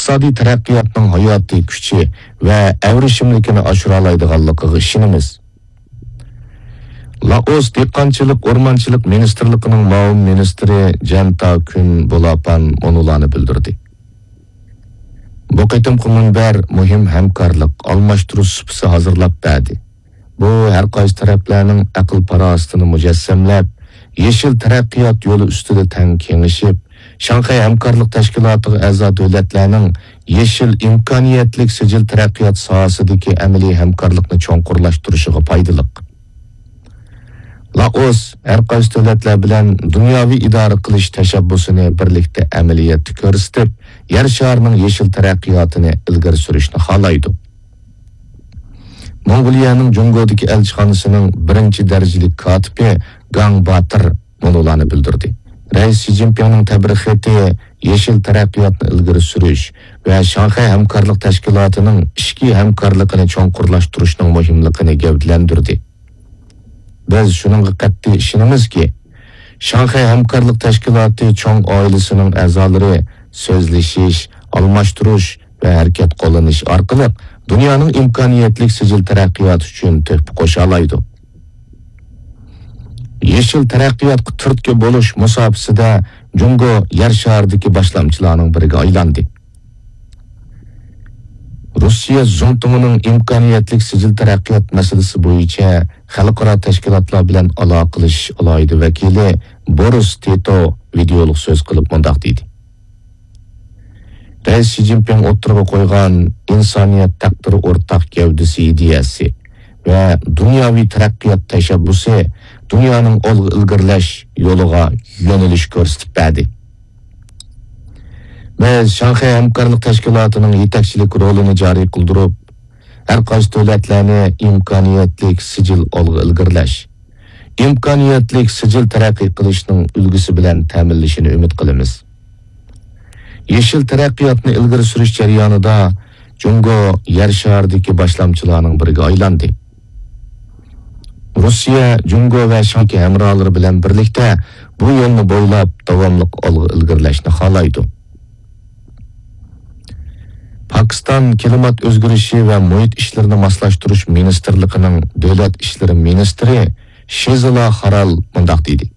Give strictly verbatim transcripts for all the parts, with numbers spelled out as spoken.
ئىقتىسادىي تەرەققىياتنىڭ ھاياتىي كۈچى ۋە ئەۋرىشىملىكىنى ئاشۇرالايدىغانلىقىغا ئىشىنىمىز. لائوس دېھقانچىلىق، ئورمانچىلىق مىنىستىرلىقىنىڭ مۇئاۋىن مىنىستىرى جەنتا كۈن بولاپان مۇنۇلارنى بىلدۈردى. بۇ قېتىمقى مۇنبەر مۇھىم ھەمكارلىق، ئالماشتۇرۇش سۇپىسى ھازىرلاپ بەردى. بۇ ھەر قايسى تەرەپلەرنىڭ ئەقىل-پاراسىتىنى مۇجەسسەملەپ، يېشىل تەرەققىيات يولى ئۈستىدە تەڭ كېڭىشىپ، شاڭخەي ھەمكارلىق تەشكىلاتىغا ئەزا دۆلەتلەرنىڭ يېشىل ئىمكانىيەتلىك سىجىل تەرەققىيات ساھەسىدىكى ئەمەلىي ھەمكارلىقنى چوڭقۇرلاشتۇرۇشىغا پايدىلىق. لائوس ھەر قايسى دۆلەتلەر بىلەن دۇنياۋى ئىدارە قىلىش تەشەببۇسىنى بىرلىكتە ئەمەلىيەتتە كۆرسىتىپ، يەر شارىنىڭ يېشىل تەرەققىياتىنى ئىلگىرى سۈرۈشنى خالايدۇ. موڭغۇلىيەنىڭ جۇڭگودىكى ئەلچىخانىسىنىڭ بىرىنچى دەرىجىلىك كاتىپى گاڭ باتىر مۇنۇلارنى بىلدۈردى. رەئىس شى جىنپىڭنىڭ تەبرىك خېتى يېشىل تەرەققىياتنى ئىلگىرى سۈرۈش ۋە شاڭخەي ھەمكارلىق تەشكىلاتىنىڭ ئىچكى ھەمكارلىقىنى چوڭقۇرلاشتۇرۇشنىڭ مۇھىملىقىنى گەۋدىلەندۈردى. بىز شۇنىڭغا قەتئىي ئىشىنىمىزكى، شاڭخەي ھەمكارلىق تەشكىلاتى چوڭ ئائىلىسىنىڭ ئەزالىرى سۆزلىشىش، ئالماشتۇرۇش ۋە ھەرىكەت قوللىنىش ئارقىلىق دۇنيانىڭ ئىمكانىيەتلىك سىجىل تەرەققىياتى ئۈچۈن تۆھپە قوشالايدۇ. يېشىل تەرەققىياتقا تۈرتكە بولۇش مۇساپىسىدە جۇڭگو يەر شارىدىكى باشلامچىلارنىڭ بىرىگە ئايلاندى. روسىيە زۇڭتۇڭىنىڭ ئىمكانىيەتلىك سىجىل تەرەققىيات مەسىلىسى بويىچە خەلقئارا تەشكىلاتلار بىلەن ئالاقىلىشىش ئالاھىدە ۋەكىلى بورىس تىتو ۋىدېئولۇق سۆز قىلىپ مۇنداق دېدى: رەئىس شى جىنپىڭ ئوتتۇرىغا قويغان ئىنسانىيەت تەقدىرى ئورتاق گەۋدىسى ئىدىيەسى ۋە دۇنياۋى تەرەققىيات تەشەببۇسى دۇنيانىڭ ئالغا ئىلگىرىلەش يولىغا يۆنىلىش كۆرسىتىپ بەردى. بىز شاڭخەي ھەمكارلىق تەشكىلاتىنىڭ يېتەكچىلىك رولىنى جارى قىلدۇرۇپ، ھەر قايسى دۆلەتلەرنى ئىمكانىيەتلىك سىجىل ئالغا ئىلگىرىلەش، ئىمكانىيەتلىك سىجىل تەرەققىي قىلىشنىڭ ئۈلگىسى بىلەن تەمىنلىشىنى ئۈمىد قىلىمىز. يېشىل تەرەققىياتنى ئىلگىرى سۈرۈش جەريانىدا جۇڭگو يەر شارىدىكى باشلامچىلارنىڭ بىرىگە ئايلاندى. روسىيە، جۇڭگو ۋە شاڭخەي ھەمراھلىرى بىلەن بىرلىكتە بۇ يولنى بويلاپ داۋاملىق ئالغا ئىلگىرىلەشنى خالايدۇ. پاكىستان كىلىمات ئۆزگىرىشى ۋە مۇھىت ئىشلىرىنى ماسلاشتۇرۇش مىنىستىرلىقىنىڭ دۆلەت ئىشلىرى مىنىستىرى شىزىلا خارال مۇنداق دېدى: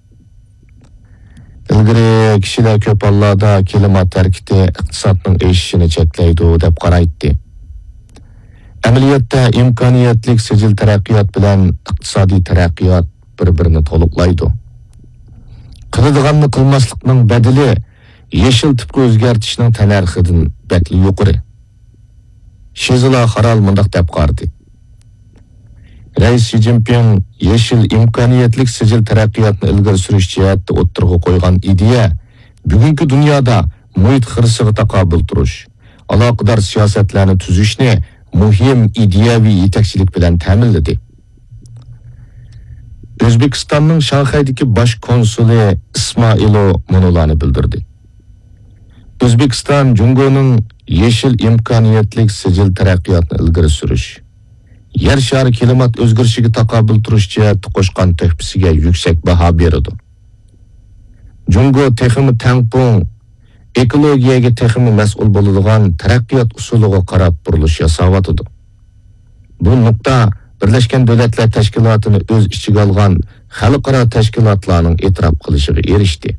ئىلگىرى كىشىلەر كۆپ ھاللاردا كىلىمات ھەرىكىتى ئىقتىسادنىڭ ئېشىشىنى چەكلەيدۇ، دەپ قارايتتى. ئەمەلىيەتتە، ئىمكانىيەتلىك سىجىل تەرەققىيات بىلەن ئىقتىسادىي تەرەققىيات بىر-بىرىنى تولۇقلايدۇ. قىلىدىغاننى قىلماسلىقنىڭ بەدىلى يېشىل تىپقا ئۆزگەرتىشنىڭ تەننەرخىدىن بەكلا يۇقىرى. شىزىلا خارال مۇنداق دەپ قارىدى: رەئىس شى جىنپىڭ يېشىل ئىمكانىيەتلىك سىجىل تەرەققىياتنى ئىلگىرى سۈرۈش جەھەتتە ئوتتۇرىغا قويغان ئىدىيە بۈگۈنكى دۇنيادا مۇھىت خىرىسىغا تاقابىل تۇرۇش، ئالاقىدار سىياسەتلەرنى تۈزۈشنى مۇھىم ئىدىيەۋى يېتەكچىلىك بىلەن تەمىنلىدى. ئۆزبېكىستاننىڭ شاڭخەيدىكى باش كونسۇلى ئىسمائىلو مۇنۇلارنى بىلدۈردى: ئۆزبېكىستان جۇڭگونىڭ يېشىل ئىمكانىيەتلىك سىجىل تەرەققىياتنى ئىلگىرى سۈرۈش، يەر شارى كىلىمات ئۆزگىرىشىگە تاقابىل تۇرۇش جەھەتتە قوشقان تۆھپىسىگە يۈكسەك باھا بېرىدۇ. جۇڭگو تېخىمۇ تەڭپۇڭ، ئېكولوگىيەگە تېخىمۇ مەسئۇل بولىدىغان تەرەققىيات ئۇسۇلىغا قاراپ بۇرۇلۇش ياساۋاتىدۇ. بۇ نۇقتا بىرلەشكەن دۆلەتلەر تەشكىلاتىنى ئۆز ئىچىگە ئالغان خەلقئارا تەشكىلاتلارنىڭ ئېتىراپ قىلىشىغا ئېرىشتى.